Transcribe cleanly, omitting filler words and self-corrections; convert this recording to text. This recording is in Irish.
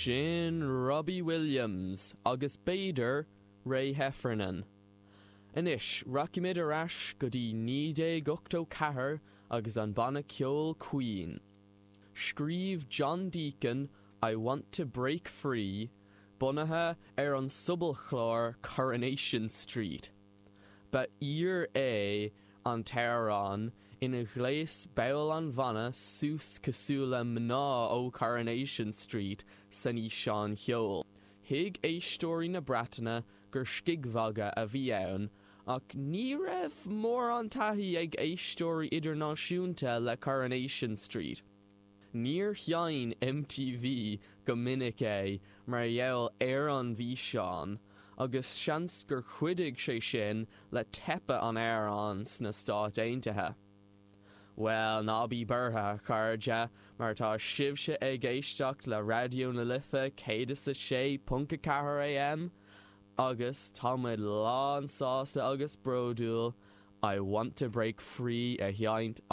Sin Robbie Williams agus b'fhéidir Ray Heffernan. Anois, rachaimid ar ais go dtí 1984 agus an banna ceoil Queen. Scríobh John Deacon I Want to Break Free, bunaithe ar an sobalchlár Coronation Street. Ba aoir é an t-amhrán ina ghléas baill an bhanna suas cosúil le mná ó Coronation Street san fhíseán cheoil. Thuig éisteoirí na Breataine gur scigmhagadh a bhí ann ach ní raibh mórán taithí ag éisteoirí idirnáisiúnta le Coronation Street. Níor sheinn MTV go minic é mar gheall ar an bhfíseán, agus seans gur chuidigh sé sin le teipeadh an amhráin sna Stáit Aontaithe. Bhuel, ná bí buartha, a chairde, mar tá sibhse ag éisteacht le Raidió na Life 106.4 AM, agus tá muid lán sásta agus bródúil I Want to Break Free a sheinnt.